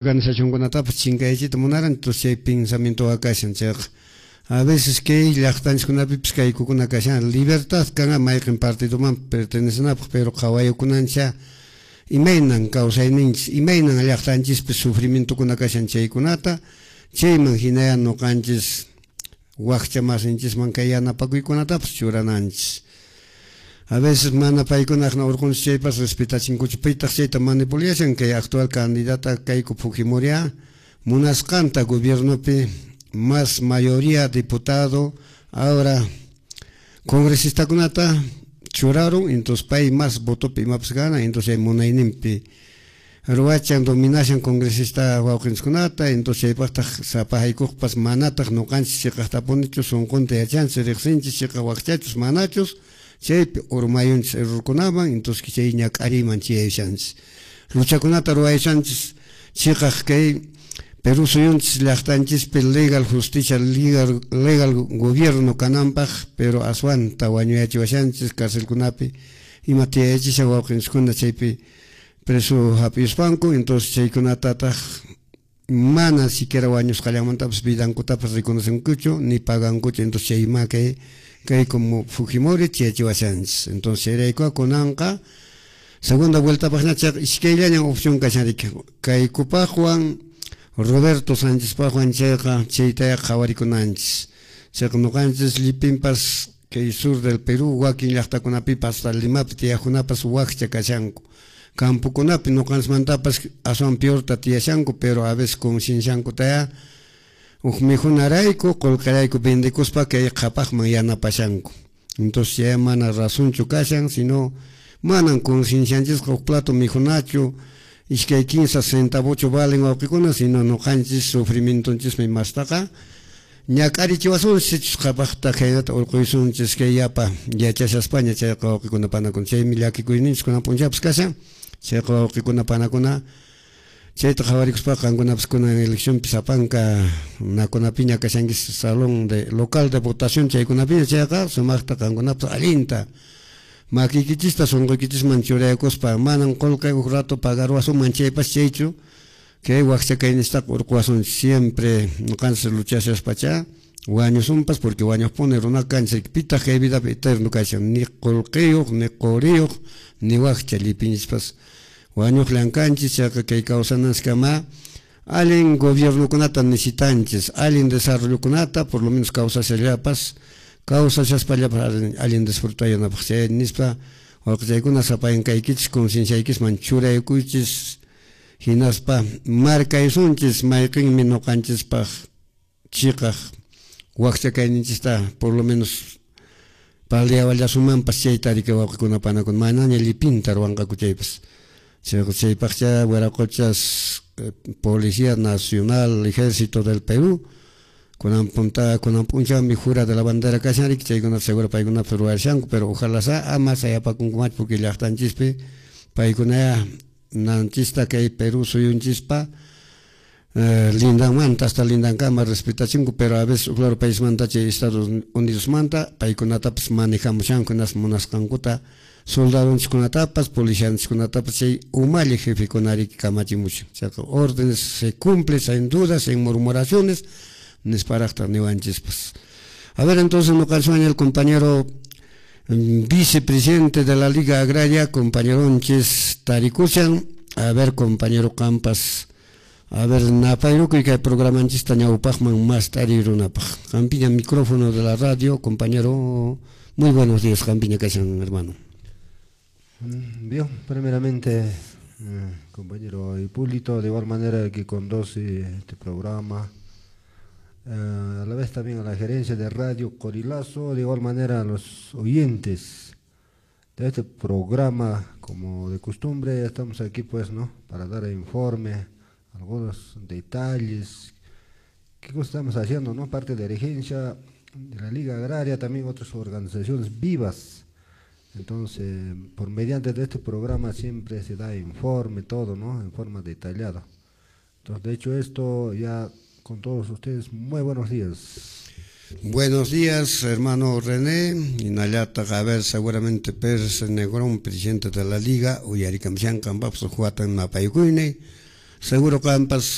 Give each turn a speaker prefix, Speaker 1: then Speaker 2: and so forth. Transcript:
Speaker 1: Organizacionkunatapas chinkayachiyta munaran, entonces chay pensamientoqa kashan. Chayqa a veces kay llaqtanchiskunapipis kaykukuna kashan, libertad kan mayqin partidoman pertenecenapaq, pero qhawayukunancha imaynan kawsayninchis, imaynan llaqtanchispi sufrimientokuna kashan chaykunata, chayman hinaya ñuqanchis wakcha masinchisman kay yanapakuykunatapas churananchis. A veces mana paykunaqna urqunchis chaypas respetachinkuchu, pitaq chayta manipulashan kay actual candidata Keiko Fujimori munasqanta gobiernopi más mayoría diputado, ahora congresistakunata churarun, entonces pay más votopi imapas gana, entonces munayninpi ruwachan, dominashan congresista wawqinchiskunata, entonces chaypaqtaq sapahaykuqpas manataq ñuqanchis chiqaqtapunichu sunqunta yachanchis, riqsinchis chiqaq wakchachus manachus, chaypi urmayunchis errorkunaman, entonces chay ñak'ariyman chiyayushanchis. Luchakunata ruwayushanchis chiqaq kay Perú suyunchis llaqtanchispi legal justicia, legal gobierno kananpaq, pero aswanta wañuyachiwashanchis carcelkunapi ima tiyayachishan wawqinchiskuna chaypi preso hap'ispanku, entonces chaykunatataq mana siquiera wañusqallamantapas vidankutapas reconocenkuchu ni pagankuchu, entonces chayma kay como Fujimori chiyachiwashanchis. Entonces chayrayku kunanqa segunda vueltapaqña chayqa iskayllañan opción kashan riki, Keikopaqwan Roberto Sánchezpaqwan, chayqa chaytaya qhawarikunanchis. Chayqa ñuqanchis llipinpas kay sur del Perú wakin llaqtakunapipas hasta Limapi tiyaqkunapas wakcha kashanku, campokunapi ñuqanchismantapas aswan peorta tiyashanku, pero a veces concienciankutaya huk mikhunarayku qullqirayku vendekuspa kay qhapaqman yanapashanku. Entonces ya mana razonchu kashan, sino manan conciencianchisqa huk plato mikhunachu iskay kinsa centavochu valen wawqikuna, sino ñuqanchis sufrimientonchismi mastaqa ñak'arichiwasunchis sichus qhapaqta khaynata urquysunchis kay yapa yachashaspaña chayqa wawqikuna panakuna. Chaymi llakikuyninchis kunan p'unchawpas kashan, chayqa wawqikuna panakuna chayta qhawarikuspaqa qankunapas kunan eleccionpi sapanka nakunapiña kashankis salón de local de votación chaykunapiña, chayqa sumaqta qankunapas allinta makiykichista sunquykichisman churayakuspa manan qullqi huk rato pagaruwasunman chaypas chaychu kay wakcha kayninchistaqa urquwasunchis siempre ñuqanchis luchashaspacha wañusunpas, porque wañuqpuni runaqa kanchis, pitaq kay vidapi eterno kashan, ni qullqiyuq ni quriyuq ni wakcha llipinchispas wañuqllan kanchis. Chayqa kay kawsananchiskama allin gobiernokunata necesitanchis, allin desarrollokunata, por lo menos kawsashallapas kawsashaspallapas allin disfrutayanapaq. Chay nispa wawqichaykuna sapayankaykichis concienciaykisman churaykuychis, hinaspa markaysunchis mayqinmi ñuqanchispaq chiqaq wakcha kayninchista por lo menos paliawallasumanpas chayta riki wawqikuna panakuna manaña llipinta ruwanqaku chaypas. Chaypaqcha wiraquchas Policía Nacional, Ejército del Perú, kunan punta kunan p'unchawmi jura de la bandera kashan riki, chaykunata seguro paykunapas ruwashanku, pero ojalá sa ama sayapakunkumachu, porque llaqtanchispi paykunaya nanchista kay Perú suyunchispa lindanmanta hasta lindankama respetachinku, pero a veces claro paismanta chay Estados Unidosmanta paykunatapas manejamushanku hinaspa munasqankuta soldadonchiskunatapas policianchiskunatapas chay umalli jefekuna riki kamachimushan. Chayqa órdenes se cumple sin dudas, sin murmuraciones nisparaqtaq niwanchispas. A ver, entonces ñuqanchis el compañero vicepresidente de la Liga Agraria, compañeronchis tarikushan. A ver, compañero Campas, a ver, napayrukuy kay programanchista ñawpaqman mas tarirunapaq. Qampiña micrófono de la radio, compañero. Muy buenos días, qampiña kashan, hermano.
Speaker 2: Bien, primeramente, compañero Hipólito, de igual manera que conduce este programa, a la vez también a la gerencia de Radio Corilazo, de igual manera a los oyentes de este programa, como de costumbre, ya estamos aquí pues, ¿no? Para dar informe, algunos detalles, qué cosa estamos haciendo, ¿no? Parte de la dirigencia de la Liga Agraria, también otras organizaciones vivas. Entonces, por mediante de este programa siempre se da informe, todo, ¿no? En forma detallada. Entonces, de hecho, esto ya con todos ustedes, muy buenos días.
Speaker 1: Buenos días, hermano René. Hinallataq, a ver, seguramente Pérez Negrón, presidente de la Liga, uyarikamshan qanpapas huatan napaykuyni. Seguro qampas.